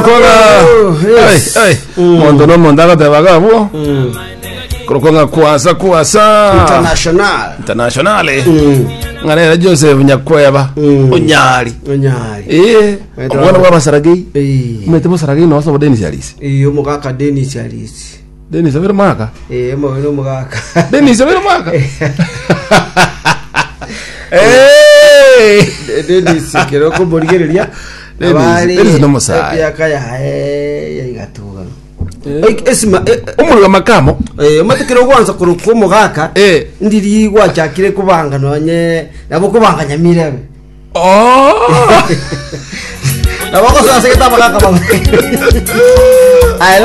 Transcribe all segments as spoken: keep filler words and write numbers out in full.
Kola. Yes. Ai, ai. Mm. Mondo no mondo agatebaga abwo. Mm. Korokonga kwasa kwasa. International. Internationale. Mm. Ng'arera Joseph Nyakweba. Mm. Onyari. Onyari. Eh. Wetwa- Omwana bwa Basaragei. Eh. Umete Basaragei no sobo Dennis Alisi. Eh, omogaka Dennis Alisi. Dennis abere mwaka. Eh, omogaka omogaka. Dennis abere mwaka. Eh. Dennis kero komorigereria. Dennis- Abari- Dennis nomosae. Emiaka yaye yaigatuga. Oik- Esima eh, Omurwa makamo. eh, omate kero gwansa korokwa omogaka Eh. ndiri gwachakire kobanga nonye nabo kobanga nyamirebe Oh. nabo gosasegete abagaka bamwe Aye,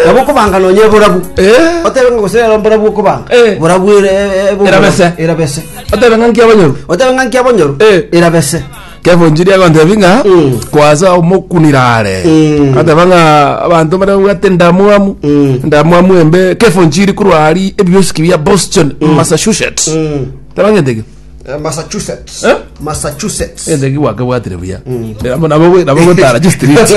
nabo kobanga nonye borabu Eh. otebe ng'a gose rero mborabu okobanga Eh. borabu ere- e- e- bo- Erabese. erabese Otebe ng'anki abanyoru. otebe ng'a nki abonyoru Eh. erabese Kevunjiri agontebia ng'a Mm. kwasa omokunirare Mm. ateba ng'a abanto barabwate endamwamu Mm. endamwamu embe kevunjiri korwa ari ebiosiki bia Boston Massachusetts Mm. teba ng'enteki Eh, Massachusetts Eh? Massachusetts enteki gwakebwatire buya Nabo- nabo nabo gotara chistreet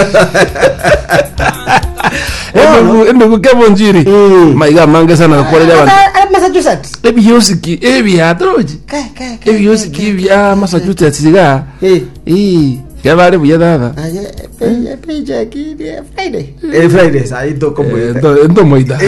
Endugu- endugu kevunjiri Mm. maiga amange sana gakwarire abanto Ah, ah, Massachusetts ebiosiki ebiatorochi Ke, ke, ke, ebiosiki bia Massachusetts iga Eh. ii kebare buya tata Aye, pe- paycheck iri Friday. Eh, Friday, sahi tokomoita. ntomoita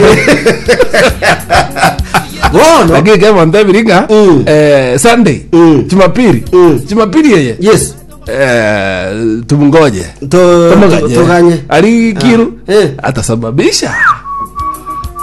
Bono. lakini kebonto ebiringa Mm. eh, sunday Mm. jumapili Mm. jumapili eye Yes. eh, tumngoje To- Tumnganye. tuganye. ari kiru Ah. Eh. atasababisha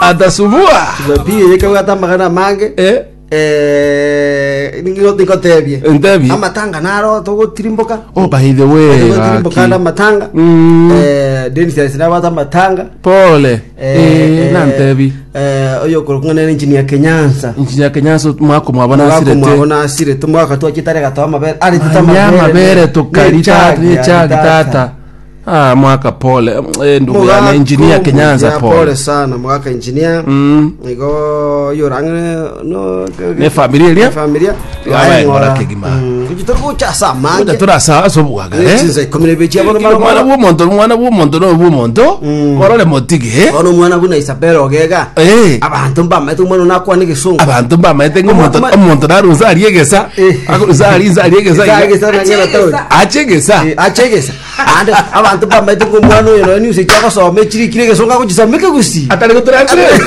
atasubua Jumapili yekabwata amagana amange. eh, Eh, ningo nikotebie. Ntebie. Amatanga naro togotirimboka. oh by the way Togotirimboka gaki. na amatanga. Mm. Eh, Dennis Alisi amatanga. pole eh, nantebi Eh, oyo korokung'ana engineer Kenyansa. nchinya kenyanso mwako mwabona asirete Mwabona asirete mwaka twachitare gatoa amabere. Aretete Anya amabere tukari tata nechagi tata ah mwaka pole eh, ndugu yana engineer Kenyanza pole pole sana mwaka engineer mm igo yorang'e no Ne familia eria? ne familia Yabaye ng'ora kegima. kuchitokucha sa Kuja mange turasa asobwaga eh chinza ikumi na ibere chiabona mwana mara bw'omonto mwana bw'omonto no bw'omonto Mm. korore motige bono omwana buna Isabel ogega eh abanto mbamaete omwana nakwana egesungu abantu mbamaete ng'omonto Oma- omonto narunsa ari egesa Eh. akorunsa ari nsa ari egesa iga. Egesa nang'era town. ache egesa Eh, ache egesa ande abanto mbamaete ng'omwana oyo noyo news echiagosoma echirikire egesungu agochisoma ekegusi atari gotranslate